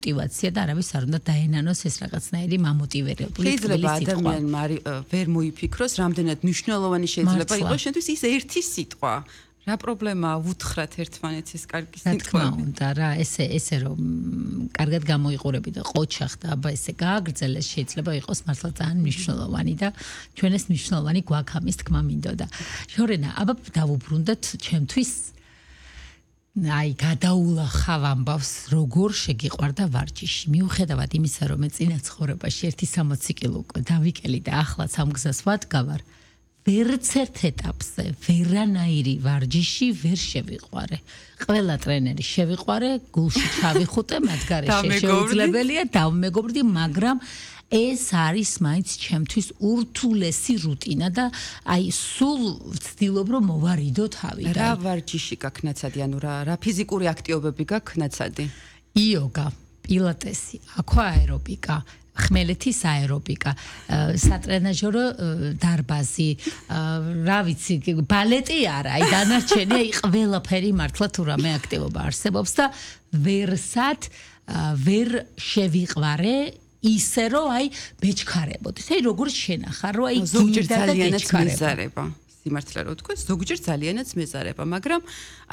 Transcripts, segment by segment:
мотивация და არავის არ უნდა დაენანოს ეს რაღაცნაირი მამოტივირებული შეიძლება ადამიანმა ვერ მოიფიქროს რამდენად მნიშვნელოვანი შეიძლება იყოს შენთვის ის ერთი სიტყვა რა პრობლემაა უთხრათ ერთმანეთს ეს კარგი სიტყვა. რა თქმა უნდა რა ესე რომ კარგად გამოიყურები და ყოჩახ და აბა ესე გააგრძელეს შეიძლება იყოს მართლა ძალიან მნიშვნელოვანი და ჩვენ ეს მნიშვნელოვანი გვაქვს ამის თქმა მინდოდა. შორენა აბა დავუბრუნდეთ ჩემთვის აი გადაულახავ ამბავს როგორ შეგიყვარდა ვარჯიში. მიუხედავად იმისა რომ მე წინა ცხოვრებაში 160 კილო უკვე დავიკელი და ახლაც ამ გზას ვადგავარ ვერც ერთ ეტაპზე ვერანაირი ვარჯიში ვერ შევიყვარე. ყველა ტრენერი შევიყვარე, გულში ჩავიხუტე, მათ გარეშე შეუძლებელია დავმეგობრდი, მაგრამ ეს არის მაინც ჩემთვის ურთულესი რუტინა და აი სულ ვცდილობ რომ მოვარიდო თავიდან. რა ვარჯიში გაქვს ნაცადი, ანუ რა ფიზიკური აქტივობები გაქვს ნაცადი? იოგა, პილატესი, აკვაერობიკა, ხმელეთის აერობიკა, სატრენაჟორო დარბაზი, რა ვიცი, ბალეტი არა, აი დანარჩენი, აი ყველაფერი მართლა თუ რამე აქტივობა არსებობს და ვერსად ვერ შევიყვარე ისე რომ აი ბეჭქარებოდეს. აი როგორ შენახარ რომ აი ზოგჯერ ძალიანაც მეზარება. სიმართლე რო თქვა, ზოგჯერ ძალიანაც მეზარება, მაგრამ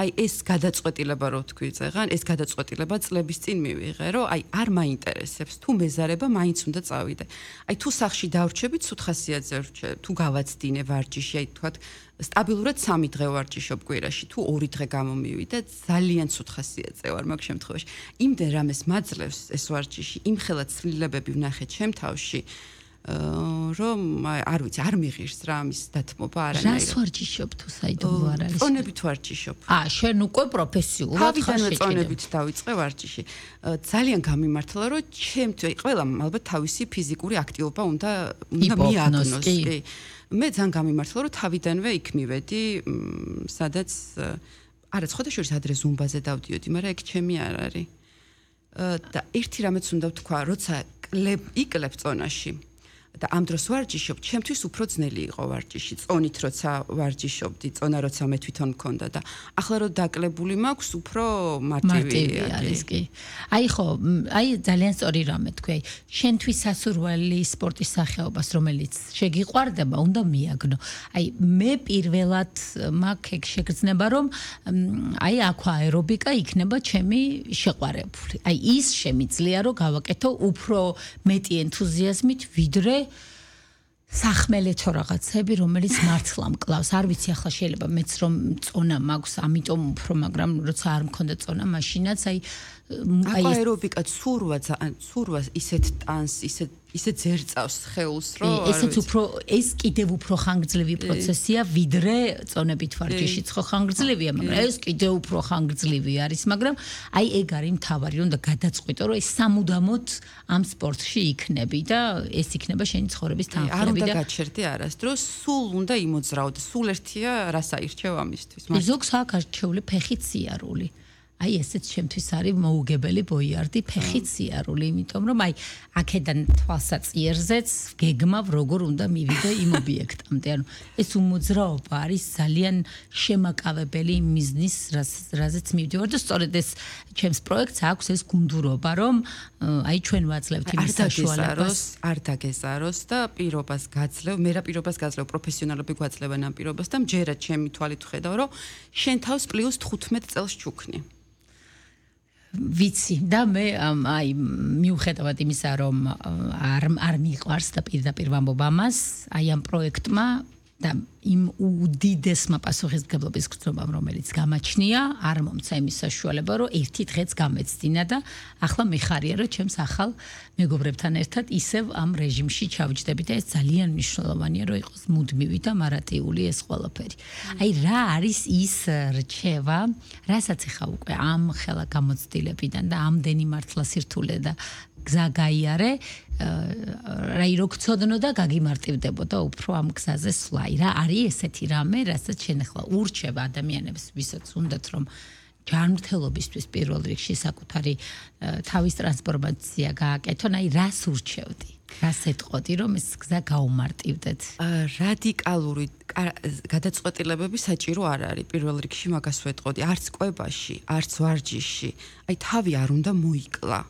აი ეს გადაწყვეტილება რო თქვი წეგან, ეს გადაწყვეტილება წლების წინ მივიღე, რომ აი არ მაინტერესებს, თუ მეზარება მაინც უნდა წავიდე. აი თუ სახში დავრჩები, ცუდ ხასიათზე ვრჩე, თუ გავაცდინე ვარჯიში, აი თქვა სტაბილურად 3 დღე ვარჯიშობ კვირაში, თუ 2 დღე გამომივიდე, ძალიან ცუდ ხასიათზე ვარ მაგ შემთხვევაში. იმდენ რამეს მაძლევს ეს ვარჯიში, იმხელა ცვლილებები ვნახე ჩემ თავში. რომ არ ვიცი, არ მიღირს რა ამის დათმობა არანაირად. რას ვარჯიშობ თუ საიდუმლო არ არის? წონებით ვარჯიშობ. შენ უკვე პროფესიულად ხარ წონებით დავიწყე ვარჯიში. ძალიან გამიმართლა რომ ჩემთვის ყველამ ალბათ თავისი ფიზიკური აქტივობა უნდა მიაგნოს. კი. მე ძალიან გამიმართლა რომ თავიდანვე იქ მივედი, სადაც არა ცხოდაშორის ადრე ზუმბაზე დავდიოდი, მაგრამ ეგ ჩემი არ არის. და ერთი რამეც უნდა ვთქვა, როცა იკლებ წონაში და ამ დროს ვარჯიშობ, ჩემთვის უფრო ძნელი იყო ვარჯიში. წონით როცა ვარჯიშობდი, წონა როცა მე თვითონ მქონდა და ახლა რომ დაკლებული მაქვს, უფრო მარტივი არის კი. აი ხო, აი ძალიან სწორი რამე თქვი. აი შენთვის სასურველი სპორტის სახეობას, რომელიც შეგიყვარდება, უნდა მიაგნო. აი მე პირველად მაქვს ეგ შეგრძნება, რომ აი აკვაერობიკა იქნება ჩემი შეყვარებული. აი ის შემიძლია რომ გავაკეთო უფრო მეტი ენთუზიაზმით, ვიდრე სახმელეთო რაღაცები, რომელიც მართლა მკლავს. არ ვიცი ახლა შეიძლება მეც რომ წონა მაქვს, ამიტომ უფრო, მაგრამ როცა არ მქონდა წონა, მაშინაც აი აკვაერობიკა ცურვა ისეთ ტანს, ისეთ ზერწავს სხეულს, რომ ესეც უფრო ეს კიდევ უფრო ხანგრძლივი პროცესია, ვიდრე წონებით ვარჯიშიც ხო ხანგრძლივია, მაგრამ ეს კიდევ უფრო ხანგრძლივი არის, მაგრამ აი ეგ არის მთავარი, რომ და გადაწყვიტო, რომ ეს სამუდამოდ ამ სპორტში იქნები და ეს იქნება შენი ცხოვრების თანხლები და არ უნდა გაჩერდე არასდროს, სულ უნდა იმოძრაოდე, სულ ერთია რას აირჩევ ამისთვის. ზოგს აქვს არჩეული ფეხით სიარული. აი ესეც ჩემთვის არის მოუგებელი ბოიარდი ფეხით სიარული, იმიტომ რომ აი აქედან თვალსაწიერზეც გეგმავ როგორ უნდა მივიდე იმ ობიექტამდე. ანუ ეს უმოძრაობა არის ძალიან შემაკავებელი მიზნის, რაზეც მივდივარ და სწორედ ეს ჩემს პროექტს აქვს ეს გუნდურობა, რომ აი ჩვენ ვაძლევთ იმ საშუალებას, არ დაგეზაროს და პირობას გაძლევ, მე რა პირობას გაძლევ, პროფესიონალები გვაძლევენ ამ პირობას და მჯერა ჩემი თვალით ვხედავ, რომ შენ თავს პლუს 15 წელს ჩუქნი. ვიცი და მე აი მიუხედავად იმისა რომ არ მიყვარს და პირდაპირ ვამბობ ამას, აი ამ პროექტმა და იმ უდიდესმა პასუხისმგებლობის გრძნობამ, რომელიც გამაჩნია, არ მომცა იმის საშუალება, რომ ერთი დღეც გამეცდინა და ახლა მეხარია, რომ ჩემს ახალ მეგობრებთან ერთად ისევ ამ რეჟიმში ჩავჯდები და ეს ძალიან მნიშვნელოვანია, რომ იყოს მუდმივი და მარატიული ეს ყველაფერი. აი რა არის ის რჩევა, რასაც ახლა უკვე ამ ხელა გამოცდილებიდან და ამდენი მართლა სირთულე და გზა გაიარე, რაი რო გწოდნო და გაგიმარტივდებოდა უფრო ამ გზაზე სვლა. რა არის ესეთი რამე, რასაც შენ ახლა ურჩევ ადამიანებს, ვისაც უნდათ რომ ჯანმრთელობისთვის პირველ რიგში საკუთარი თავის ტრანსფორმაცია გააკეთონ, აი რას ურჩევდი? რას ეთყოდი, რომ ეს გზა გაუმარტივდეთ? რადიკალური გადაწყვეტილებები საჭირო არ არის პირველ რიგში, მაგას ვეთყოდი, არც კვებაში, არც ვარჯიში. აი თავი არ უნდა მოიკლა.